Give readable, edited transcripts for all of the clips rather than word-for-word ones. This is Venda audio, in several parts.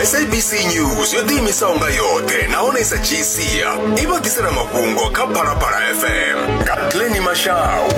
SABC News yo ḓiimisaho nga yoṱhe nahone i sa dzhii sia i vha ḓisela mafhungo kha Phalaphala FM nga Glenny Mashau.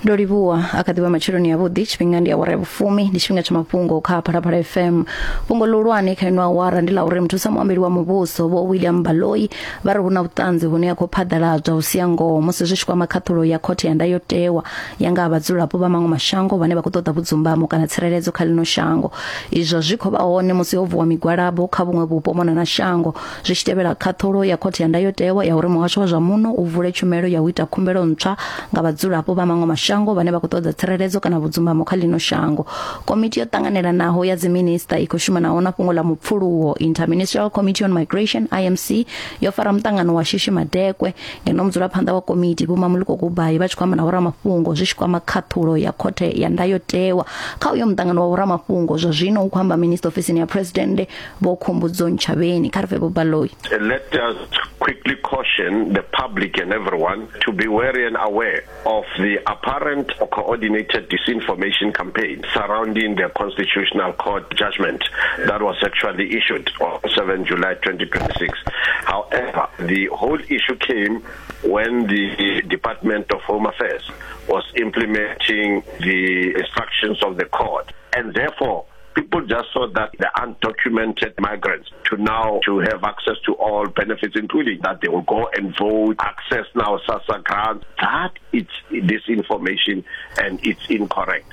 Ndo livhuwa a kha ḓivha matsheloni avhuḓi tshifhinga ndi awara ya vhufumi ndi tshifhinga tsha mafhungo kha Phalaphala FM. Fhungo ḽihulwane kha ino awara ndi ḽa uri muthusa muambeli wa muvhuso Vho William Baloyi vha ri hu na vhuṱanzi hune ha khou phaḓaladzwa u sia ngoho musi zwi tshi kwama khaṱhulo ya khothe ya ndayotewa ya nga ha vhadzulapo vha maṅwe mashango vhane vha khou ṱoḓa vhudzumbamo kana tsireledzo kha ḽino shango. Izwo zwi khou vha hone musi ho vuwa migwalabo kha vhuṅwe vhupo mona na shango zwi tshi tevhela khaṱhulo ya khothe ya ndayotewa ya uri muhasho wa zwa muno u vule tshumelo ya u ita khumbelo ntswa nga vhadzulapo vha maṅwe mashango vhane vha khou ṱoḓa tsireledzo kana vhudzumbamo kha ḽino shango. Komiti yo ṱanganelanaho ya dziminista i khou shumanaho na fhungo ḽa mupfuluwo Interministerial Committee on Migration IMC yo fara muṱangano wa shishi madekwe ngeno mudzulaphanḓa wa komiti Vho Mamuliko Kubayi vha tshi khou amba na vhoramafhungo zwi tshi kwama khaṱhulo ya khothe ya ndayotewa. Kha uyo muṱangano wa vhoramafhungo zwa zwino hu khou amba minista ofisini ya Presidennde Vho Khumbudzo Ntshavheni. Kha ri pfe Vho Baloyi. Let us quickly caution the public and everyone to be wary and aware of the apparent or coordinated disinformation campaign surrounding the Constitutional Court judgment that was actually issued on 7 July 2026. However, the whole issue came when the Department of Home Affairs was implementing the instructions of the court, and therefore people just saw that the undocumented migrants to now to have access to all benefits, including that they will go and vote, access now SASSA grants. That it's disinformation and it's incorrect.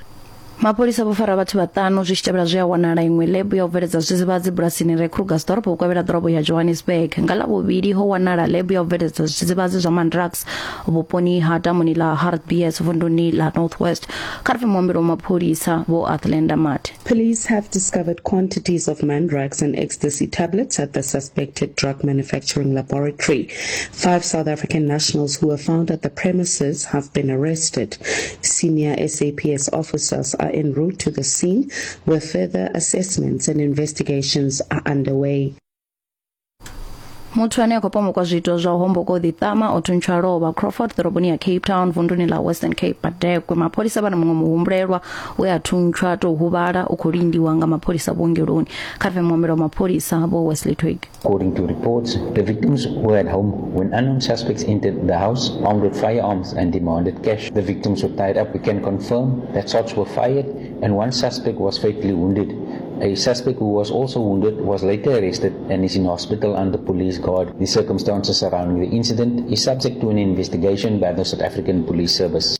Mapholisa vho fara vhathu vhaṱanu zwi tshi tevhela zwe a wanala iṅwe ḽebu ya u bveledza zwidzidzivhadzi bulasini re Krugersdorp vhukovhela ḓorobo ya Johannesburg. Nga Ḽavhuvhili ho wanala ḽebu ya u bveledza zwidzidzivhadzi zwa Mandrax vhuponi ha damuni ḽa Hartbees vunduni ḽa North West. Kha ri pfe muambeli wa mapholisa Vho Athlenda Mathe. Police have discovered quantities of Mandrax and ecstasy tablets at the suspected drug manufacturing laboratory. 5 South African nationals who were found at the premises have been arrested. Senior SAPS officers are en route to the scene where further assessments and investigations are underway. Muthu ane a khou pomokwa zwiito zwa u homboka u ḓiṱama o thuntshwa lovha Crawford ḓoroboni ya Cape Town vunduni ḽa Western Cape Madekwe. Mapholisa vha na muṅwe muhumbulelwa we a thuntshwa tou huvhala u khou lindiwa nga mapholisa vhuongeloni. Kha ri pfe muambeli wa mapholisa Vho Wesley Twigg. According to reports, the victims were at home when unknown suspects entered the house armed with firearms and demanded cash. The victims were tied up. We can confirm that shots were fired and one suspect was fatally wounded. A suspect who was also wounded was later arrested and is in hospital under police guard. The circumstances surrounding the incident is subject to an investigation by the South African Police Service.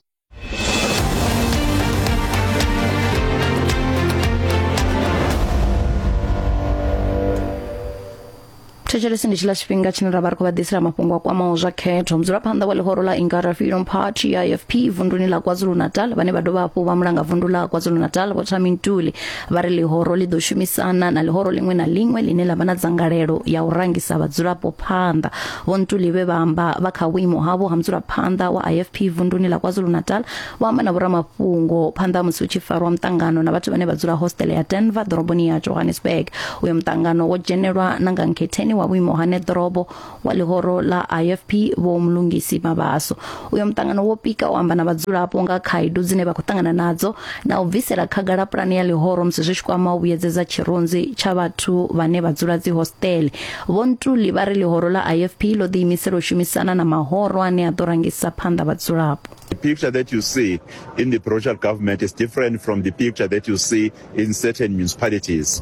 Thetshelesi ndi tshiḽa tshifhinga tshine ra vha ri khou vha ḓisela mafhungo a kwamaho zwa khetho. Mudzulaphanḓa wa ḽihoro ḽa Inkatha Freedom Party IFP vunduni ḽa KwaZulu-Natal vhane vha dovha hafhu vha mulanga vundu ḽa KwaZulu-Natal Vho Thami Ntuli vha ri ḽihoro ḽi ḓo shumisana na ḽihoro ḽiṅwe na ḽiṅwe ḽine ḽa vha na dzangalelo ya u rangisa vhadzulapo phanḓa. Vho Ntuli vhe vha amba vha kha vhuimo havho ha mudzulaphanḓa wa IFP vunduni ḽa KwaZulu-Natal vho amba na vhoramafhungo phanḓa ha musi hu tshi farwa muṱangano na vhathu vhane vha dzula hostele ya Denver ḓoroboni ya Johannesburg. Uyo muṱangano wo dzhenelwa na nga nkhetheni wa vhuimo ha neḓorobo wa ḽihoro ḽa IFP Vho Mlungisi Mabaso. Uyo muṱangano wo pika u amba na vhadzulapo nga khaedu dzine vha khou ṱangana nadzo na u bvisela khagala pulane ya ḽihoro musi zwi tshi kwama u vhuyedzedza tshirunzi tsha vhathu vhane vha dzula dzihostele. Vho Ntuli vha ri ḽihoro ḽa IFP ḽo ḓiimisela u shumisana na mahoro ane a ḓo rangisa phanḓa vhadzulapo. The picture that you see in the provincial government is different from the picture that you see in certain municipalities,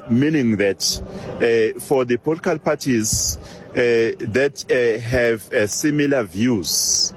meaning that for the political parties that have similar views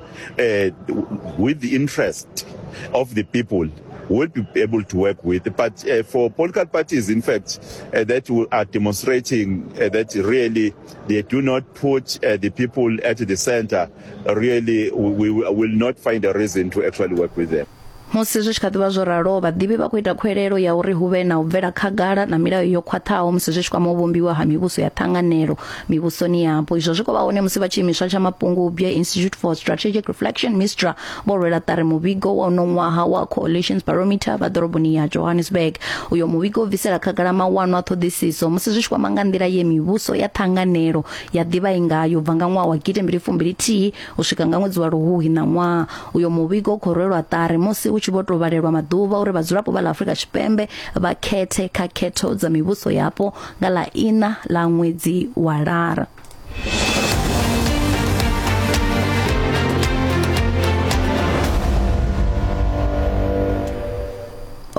with the interest of the people, will be able to work with. But for political parties, in fact, that are demonstrating that really they do not put the people at the center, really we will not find a reason to actually work with them. Musi zwi tshi kha ḓi vha zwo ralo, vhaḓivhi vha khou ita khuwelelo ya uri hu vhe na u bvela khagala na milayo yo khwaṱhaho musi zwi tshi kwama u vhumbiwa ha mivhuso ya ṱhanganelo mivhusoni yapo. Izwo zwi khou vha hone musi vha tshiimiswa tsha Mapungubwe Institute for Strategic Reflection, MISTRA, vho rwela ṱari muvhigo wa uno ṅwaha wa Coalitions Barometer vha ḓoroboni ya Johannesburg. Uyo muvhigo u bvisela khagala mawanwa a ṱhoḓisiso musi zwi tshi kwama nga nḓila ye mivhuso ya ṱhanganelo ya ḓivha i ngayo u bva nga ṅwaha wa gidi mbili fumbili thihi u swika nga ṅwedzi wa Luhuhi ṋaṅwaha. Uyo muvhigo u khou rwelwa ṱari musi hu hu tshi vho tou vhalelwa maḓuvha uri vhadzulapo vha ḽa Afrika Tshipembe vha khethe kha khetho dza mivhuso yapo nga ḽa iṋa ḽa ṅwedzi wa Lara.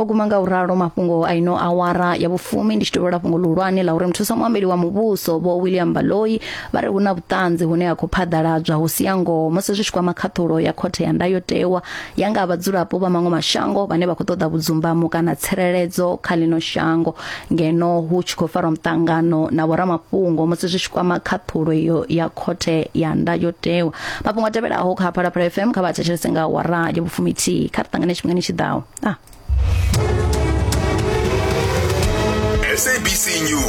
O guma nga u ralo mafhungo a ino awara ya vhufumi. Ndi tshi tovhela fhungo ḽihulwane ḽa uri muthusa muambeli wa muvhuso Vho William Baloyi vha ri hu na vhuṱanzi hune ha khou phaḓaladzwa hu si ya ngoho musi zwi tshi kwama khaṱhulo ya khothe ya ndayotewa ya nga ha vhadzulapo vha maṅwe mashango vhane vha khou ṱoḓa vhudzumbamo kana tsireledzo kha ḽino shango, ngeno hu tshi khou farwa muṱangano na vhoramafhungo musi zwi tshi kwama khaṱhulo iyo ya khothe ya ndayotewa. Mafhungo a tevhelaho kha Phalaphala FM kha vha thetshelese nga awara ya vhufumithihi. Kha ri ṱangane tshifhingani tshi ḓaho. Ah. SABC News.